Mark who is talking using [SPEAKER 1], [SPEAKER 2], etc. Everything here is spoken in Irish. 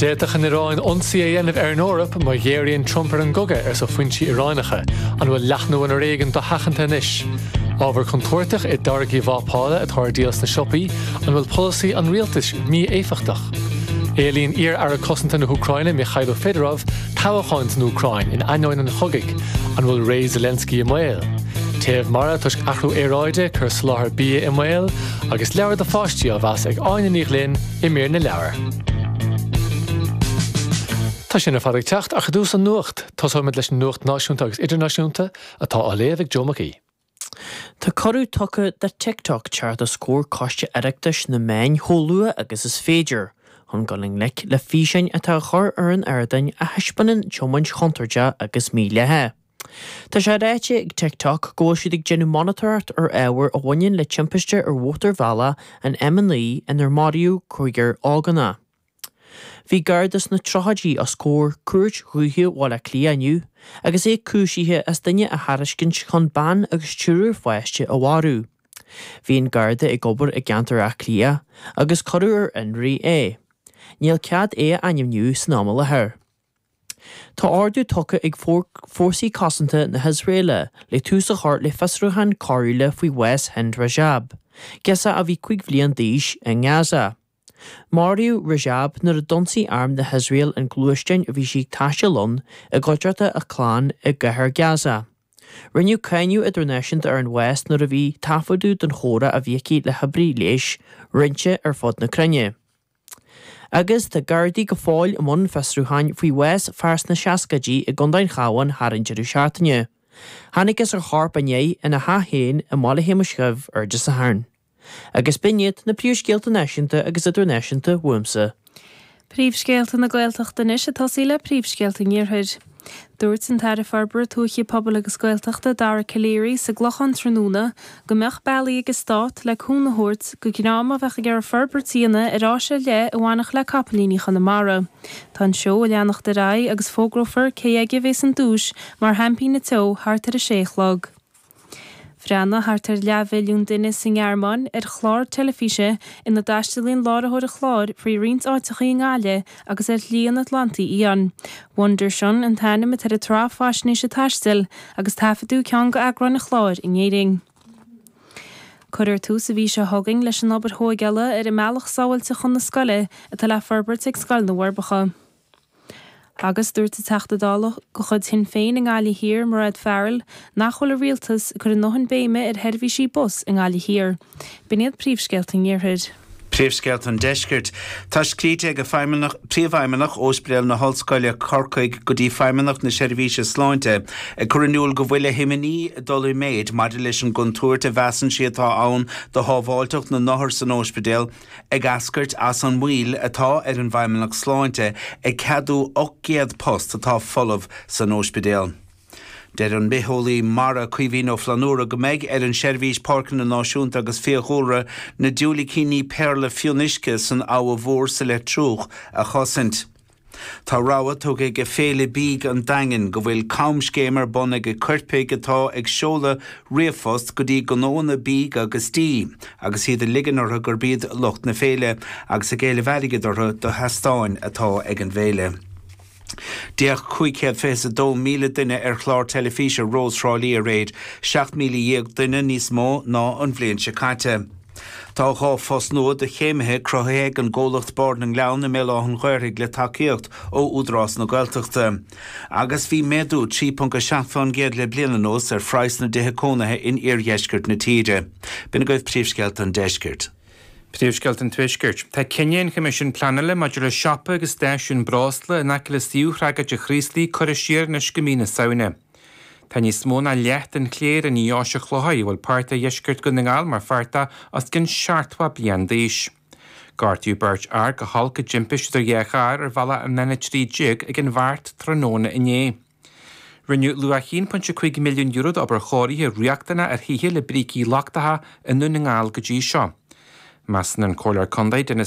[SPEAKER 1] D'fhéadfadh an Iaráin ionsaí a dhéanamh ar an Eoraip má ghéaraíonn Trump ar an gcogadh, arsa foinsí Iaránacha. An bhfuil leathnú an fhoréigin dosheachanta anois? Ábhar contúirteach i dtáirgí vápála atá ar díol sna siopaí, an bhfuil polasaí an rialtais mí-éifeachtach? Éilíonn iar-aire cosanta na hÚcráine Mykhailo Fedorov toghcháin san Úcráin in ainneoin an chogaidh. An bhfuil ré Zelensky i mbaol? Téamh mara toisc athrú aeráide, cur soláthar bia i mbaol, agus leabhar do pháistí á mheas ag Áine Ní Ghlinn i mír na leabhar. Tá sin ar fad ag teacht, ach i dtús an nuacht. Tosóimid leis an nuacht náisiúnta agus idirnáisiúnta, atá á léamh ag Joe Mac Aoidh.
[SPEAKER 2] Tá cuireadh tugtha do TikTok teacht os comhair Coiste Oireachtais na Meán chomh luath agus is féidir, chun dul i ngleic le físeáin atá á chur ar an ardán a thaispeánann tiomáint chontúirteach agus mídhleathach. Tá sé ráite ag TikTok go bhfuil siad ag déanamh monatóireacht ar ábhar a bhaineann le timpiste ar mhótarbhealach an M9 inar maraíodh cúigear ógánach. Bhí Garda sna tríochaidí os comhair Cúirt Dhúiche Bhaile Átha Cliath inniu agus é cúisithe as duine a thairiscint chun bean agus triúr pháiste a mharú. Bhí an Garda ag obair i gceantar Átha Cliath agus cuireadh ar fionraí é. Níl cead é a ainmniú san am i láthair. Tá ordú tugtha ag Fórsaí Cosanta na hIosraeile le tús a chur le fiosrúchán coiriúla faoi bhás Hind Rajab, girseach a bhí 5 bhliain d'aois, i nGaza. Maraíodh Rajab nuair a d'ionsaigh arm na hIosrael an gluaisteán a bhí sí ag taisteal ann i gcuideachta a clann i gcathair Gaza. Rinneadh cáineadh idirnáisiúnta ar an bhás nuair a bhí taifeadadh den chomhrá a bhí aici le hoibrí leighis roinnte ar fud na cruinne. Agus tá Gardaí go fóill i mbun fiosrúcháin faoi bhás fear sna seascaidí i gContae an Chabháin thar an deireadh seachtaine. Thángthas ar a chorp inné ina theach féin i mBaile Shéamais Dhuibh ar Dé Sathairn. Agus b'in iad na príomhscéalta náisiúnta agus idirnáisiúnta uaimse.
[SPEAKER 3] Príomhscéalta na Gaeltachta anois ag tosaí le príomhscéalta an Iarthair. Dúirt an tAire Forbartha Tuaithe, Pobail agus Gaeltachta, Dara Calleary, sa gClochán tráthnóna go mbeadh bealaí ag an Stát le cúnamh a thabhairt do dhream a bheadh ag iarraidh forbairt a dhéanamh ar áis ar leith a bhainfeadh le capaillíní Chonamara. Tá an seó ag leanacht ar aghaidh agus fógrófar cé aige a bhéas an duais mar Sheaimpín an tSeó thart ar a sé a chlog. Bhreathnaigh thart ar leathmhilliún duine sa nGearmáin ar chlár teilifíse ina dtaistealaíonn láithreoir an chláir faoi roinnt áiteacha i nGaillimh agus ar Shlí an Atlantaigh Fhiáin. Wunderschön an t-ainm atá ar an tsraith faisnéise taistil agus taifeadadh ceann d'eagráin an chláir in Éirinn. Cuirfear tús an mhí seo chugainn leis an obair thóigeála ar an mbealach sábháilte chun na scoile atá le forbairt ag Scoil na bhForbacha. Agus dúirt an Teachta Dála de chuid Shinn Féin i nGaillimh Thiar, Mairéad Farrell, nach bhfuil an Rialtas ag cur a ndóthain béime ar sheirbhísí bus i nGaillimh Thiar. B'in iad príomhscéalta an Iarthair.
[SPEAKER 4] Príomhscéalta an Deiscirt. Tá scríte ag Príomhfheidhmeannach Ospidéal na hOllscoile, Corcaigh, go dtí Feidhmeannacht na Seirbhíse Sláinte ag cur in iúl go bhfuil a himní ag dul i méid maidir leis an gcontúirt a mheasann sí atá ann do shábháilteacht na n-othar san óispidéal ag eascairt as an moill atá ar an bhFeidhmeannacht Sláinte ag ceadú 800 post atá folamh san óispidéal. Deir an bitheolaí mara Caoimhín Ó Flannúra go mbeidh ar an Seirbhís Páirceanna Náisiúnta agus Fiadhúlra na diúilicíní péarla fionnuisce san Abha Mhór sa Leitriúch a chosaint. Tá rabhadh tugtha ag Féile Bídh an Daingin go bhfuil camscéim ar bun ag coirpigh atá ag seoladh ríomhphost go dtí gnóanna bídh agus dí agus iad ag ligean orthu gurb iad lucht na féile agus ag éileamh airgid orthu do sheastáin atá ag an bhféile. D'fhéach 522,000 duine ar chlár teilifíse Rós Thrá Lí aréir, 17,000 duine níos mó ná an bhliain seo caite. Tá 2 phost nua do chéimithe cruthaithe ag an gcomhlacht Bord na nGleann i mBéal Átha'n Ghaorthaidh le tacaíocht ó Údarás na Gaeltachta. Agus bhí méadú 3.7% le bliain anuas ar phraghas na dtithe cónaithe in iardheisceart na tíre. B'in agaibh príomhscéalta an deiscirt.
[SPEAKER 5] Príomhscéalta an Tuaiscirt. Tá cinneadh an Choimisiúin Pleanála maidir le siopa agus stáisiún breosla in aice le suíomh thragóide Chraoslaigh curtha siar anois go mí na Samhna. Tá níos mó ná leath den chléir i nDeoise Chlocháin, a bhfuil páirt de dheisceart Dhún na nGall mar pháirt de, os cionn 70 bliain d'aois. Gortaíodh beirt fhear go holc i dtimpiste idir dhá charr ar bhealach an N13 ag an Bheart tráthnóna inné. Rinneadh luach €1.5 milliún d'obair chóirithe riachtanach ar thithe le brící lochtacha i nDún na nGall go dtí seo. Measann an Comhairleoir Contae Denis.